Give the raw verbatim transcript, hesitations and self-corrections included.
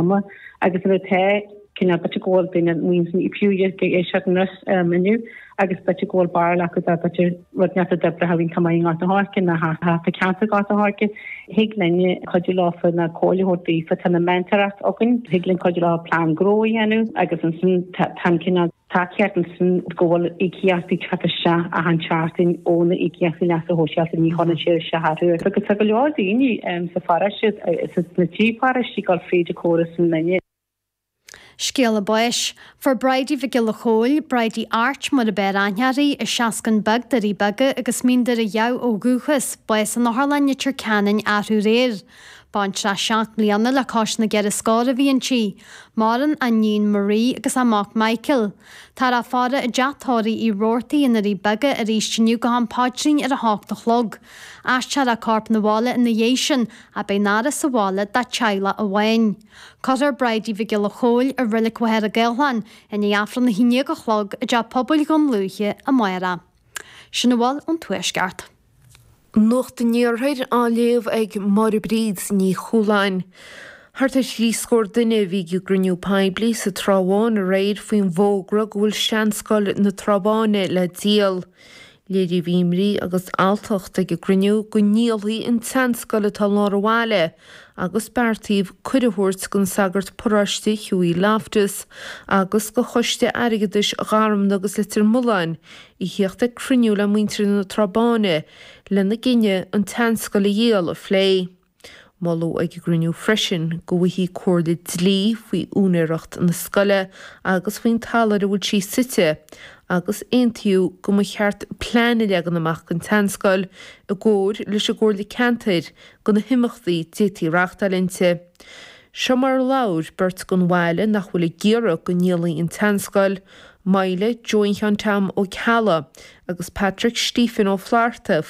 ama agus nuair atá cineál b'fhéidir go bhfuil duine muin fiú ag éisteacht anois inniu agus b'fhéidir go bhfuil barúil acu dá b'fhéidir rud inteacht a d'oibrigh iontach maith i nGort an Choirce nó thart sa cheantar Gort an Choirce. Thig linn cuidiú leofa na comhairle a thabhairt daofa tá na mentóireacht againn, thig linn cuidiú leo plean gnó a dhéanamh agus ansin tá an cineál tacaíocht ansin go bhfuil íocaíochtaí teacht isteach achan tseachtain ó na íocaíochtaí leasa shóisialta ní chuireann siad isteach orthu. Agus tá go leor daoine sa pharóiste sna trí pharóiste ag dul fríd an chóras an linne. Scéala báis. Fuair Bridie Mhic Giolla Chóill, Bridie Airt mar a b'fhearr aithne uirthi, as Seascann Beag, Doirí Beaga agus Mín Doire Dhamh ó dhúchas, bás in Otharlann Leitir Ceanainn arú aréir. Baintreach seacht mbliana le cois na gceithre scór a bhí inti. Maireann a níon Marie agus a mac Michael. Táthar á faire i dteach tórraimh Uí Robhartaigh i nDoirí Beaga arís inniu go ham paidrín ar a hocht a chlog. Aistreofar a corp 'na bhaile ina dhiaidh sin ach beidh an fhaire sa bhaile dá teaghlach amháin. Cuirfear Bridie Mhic Giolla Chóill i Reilig Mhachaire Gathlán i ndiaidh Aifreann a haon déag a chlog i dteach pobail Dhún Lúiche amárach. Sin a bhfuil ón Tuaisceart. Nuacht an Iarthair á léamh ag Máire Bríd Ní Chualáin. Thart ar thrí scór duine a bhí ag gcruinniú poiblí sa Trá Bháin aréir faoin bhfógra go bhfuil seanscoil na Trá Báine le díol. Léiríodh imní agus alltacht ag an gcruinniú go ndíolfaí an tseanscoil atá i lár an bhaile agus beartaíodh cuireadh a thabhairt don sagart paróiste Hughie Loftus agus do choiste airgeadais Gharmna agus Leitir Mealláin a theacht ag cruinniú le muintir na Trá Báine lena gcinneadh an tseanscoil a dhíol a phlé. Moladh ag an gcruinniú freisin go bhfaighfí comhairle dlí faoi úinéireacht na scoile agus faoin talamh ar a bhfuil sí suite agus aontaíodh go mba cheart plean a leagan amach don tseanscoil i gcomhar leis an gComhairle Ceantair do na himeachtaí d'fhéadfaí reáchtáil inti. Seo mar a labhair beirt den bhaile nach bhfuil ag iarraidh go ndíolfaí an tseanscoil, Myla Joan Tom Ó Ceallaigh agus Patrick Stephen Ó Flatharta.